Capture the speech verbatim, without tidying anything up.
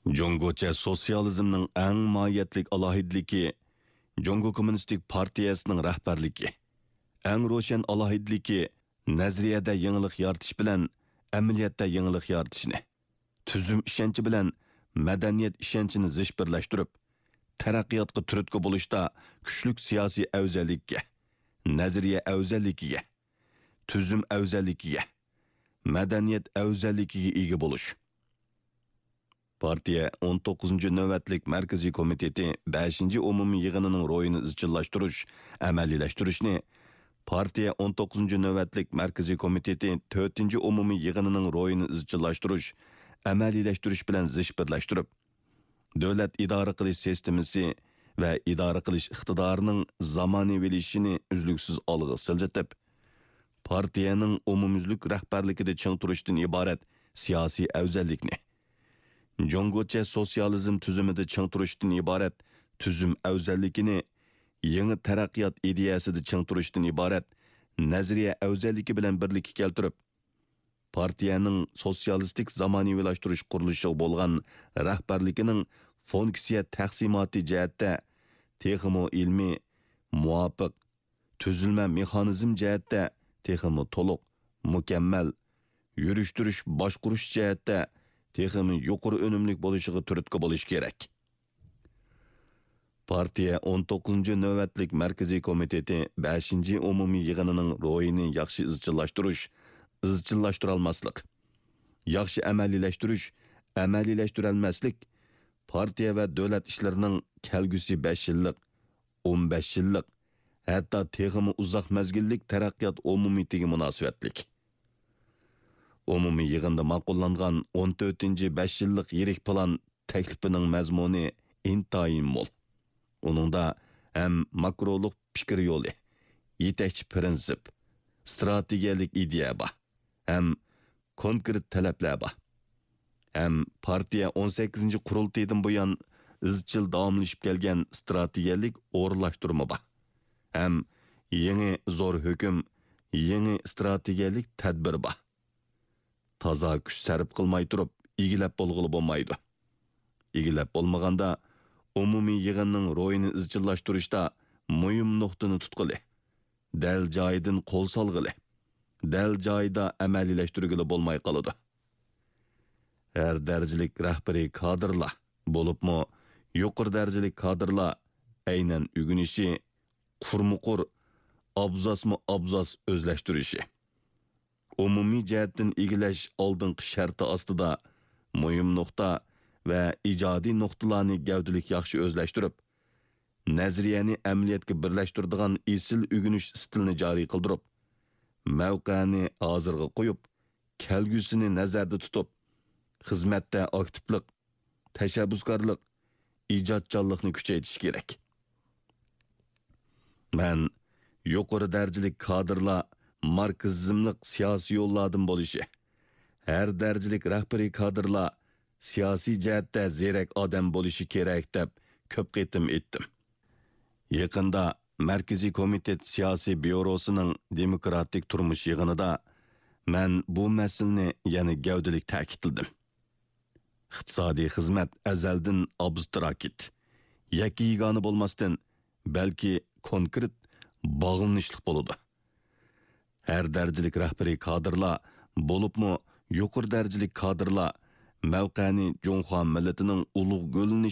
جۇڭگوچە سوتسىيالىزمنىڭ ئەڭ ماھىيەتلىك ئالاھىدىلىكى جۇڭگو كوممۇنىستىك پارتىيەسىنىڭ رەھبەرلىكى. ئەڭ روشەن ئالاھىدىلىكى نەزەرىيەدە يېڭىلىق يارىتىش بىلەن ئەمەلىيەتتە يېڭىلىق يارىتىشنى، تۈزۈم ئىشەنچى بىلەن مەدەنىيەت ئىشەنچىنى زىچ بىرلەشتۈرۈپ، تەرەققىياتقا تۈرتكە بولۇشتا كۈچلۈك سىياسىي ئەۋزەللىككە، نەزەرىيە ئەۋزەللىكىگە، تۈزۈم ئەۋزەللىكىگە، مەدەنىيەت ئەۋزەللىكىگە ئىگە بولۇش. پارتىيە ئون توققۇزىنچى نۆۋەتلىك مەركىزىي كومىتېتى بەشىنچى ئومۇمىي يىغىنىنىڭ روھىنى ئىزچىللاشتۇرۇش، ئەمەلىيلەشتۈرۈشنى، پارتىيە ئون توققۇزىنچى نۆۋەتلىك مەركىزىي كومىتېتى تۆتىنچى ئومۇمىي يىغىنىنىڭ روھىنى ئىزچىللاشتۇرۇش، ئەمەلىيلەشتۈرۈش بىلەن زىچ بىرلەشتۈرۈپ، دۆلەت ئىدارە قىلىش سىستېمىسى ۋە ئىدارە قىلىش ئىقتىدارىنىڭ زامانىۋىلىشىشىنى ئۈزلۈكسىز ئالغا سىلجىتىپ، پارتىيەنىڭ ئومۇميۈزلۈك رەھبەرلىكىدە چىڭ تۇرۇشتىن ئىبارەت سىياسىي ئەۋزەللىكنى، جۇڭگوچە سوتسىيالىزم تۈزۈمىدە چىڭ تۇرۇشتىن ئىبارەت تۈزۈم ئەۋزەللىكىنى، يېڭى تەرەققىيات ئىدىيەسىدە چىڭ تۇرۇشتىن ئىبارەت نەزەرىيە ئەۋزەللىكى بىلەن بىرلىككە كەلتۈرۈپ، پارتىيەنىڭ سوتسىيالىستىك زامانىۋىلاشتۇرۇش قۇرۇلۇشىغا بولغان رەھبەرلىكىنىڭ فۇنكسىيە تەقسىماتى جەھەتتە تېخىمۇ ئىلمىي، مۇۋاپىق، تۈزۈلمە مېخانىزم جەھەتتە تېخىمۇ تولۇق، مۇكەممەل، يۈرۈشتۈرۈش، باشقۇرۇش جەھەتتە تېخىمۇ يۇقىرى ئۈنۈملۈك بولۇشىغا تۈرتكە بولۇش كېرەك. پارتىيە ئون توققۇزىنچى نۆۋەتلىك مەركىزىي كومىتېتى بەشىنچى ئومۇمىي يىغىنىنىڭ روھىنى ياخشى ئىزچىللاشتۇرۇش، ئىزچىللاشتۇرالماسلىق، ياخشى ئەمەلىيلەشتۈرۈش، ئەمەلىيلەشتۈرەلمەسلىك، پارتىيە ۋە دۆلەت ئىشلىرىنىڭ كەلگۈسى بەش يىللىق، ئون بەش يىللىق، ھەتتا تېخىمۇ ئۇزاق مەزگىللىك تەرەققىيات ئومۇمىيىتىگە مۇناسىۋەتلىك. ئومۇمىي يىغىندا ماقۇللانغان ئون تۆتىنچى بەش يىللىق يىرىك پىلان تەكلىپىنىڭ مەزمۇنى ئىنتايىن مول. ئۇنىڭدا ھەم ماكرولۇق پىكىر يولى، يېتەكچى پىرىنسىپ، ئىستراتېگىيەلىك ئىدىيە بار، ھەم كونكرېت تەلەپلەر بار. ھەم پارتىيە ئون سەككىزىنچى قۇرۇلتىيىدىن بۇيان ئىزچىل داۋاملىشىپ كەلگەن ئىستراتېگىيەلىك ئورۇنلاشتۇرما بار. ھەم يېڭى زور ھۆكۈم، يېڭى ئىستراتېگىيەلىك تەدبىر بار. تازا كۈچ سەرپ قىلماي تۇرۇپ ئىگىلەپ بولغىلى بولمايدۇ. ئىگىلەپ بولمىغاندا، ئومۇمىي يىغىننىڭ روھىنى ئىزچىللاشتۇرۇشتا مۇھىم نۇقتىنى تۇتقىلى، دەل جايىدىن قول سالغىلى، دەل جايىدا ئەمەلىيلەشتۈرگىلى بولماي قالىدۇ. ھەر دەرىجىلىك رەھبىرىي كادىرلار، بولۇپمۇ يۇقىرى دەرىجىلىك كادىرلار ئەينەن ئۆگىنىشى، قۇرمۇقۇر، ئابزاسمۇ ئابزاس ئۆزلەشتۈرۈشى، ئومۇمىي جەھەتتىن ئىگىلەش ئالدىنقى شەرتى ئاستىدا مۇھىم نۇقتا ۋە ئىجادىي نۇقتىلارنى گەۋدىلىك ياخشى ئۆزلەشتۈرۈپ، نەزەرىيەنى ئەمەلىيەتكە بىرلەشتۈرىدىغان ئېسىل ئۆگىنىش ئىستىلىنى جارى قىلدۇرۇپ، مەۋقەنى ھازىرغا قويۇپ، كەلگۈسىنى نەزەردە تۇتۇپ، خىزمەتتە ئاكتىپلىق، تەشەببۇسكارلىق، ئىجادچانلىقنى كۈچەيتىش كېرەك. مەن يۇقىرى دەرىجىلىك كادىرلار ماركسىزملىق سىياسىي يوللاردىن بولۇشى، ھەر دەرىجىلىك رەھبىرىي كادىرلار سىياسىي جەھەتتە زېرەك ئادەم بولۇشى كېرەك دەپ كۆپ قېتىم ئېيتتىم. يېقىندا مەركىزىي كومىتېت سىياسىي بيۇروسىنىڭ دېموكراتىك تۇرمۇش يىغىنىدا مەن بۇ مەسىلىنى يەنە گەۋدىلىك تەكىتلىدىم. ئىقتىسادىي خىزمەت ئەزەلدىن ئابستراكت، يەككە يېگانە بولماستىن، بەلكى كونكرېت باغلىنىشلىق بولىدۇ. ھەر دەرىجىلىك رەھبىرىي كادىرلار، بولۇپمۇ يۇقىرى دەرىجىلىك كادىرلار مەۋقەنى جۇڭخۇا مىللىتىنىڭ ئۇلۇغ گۈللىنىش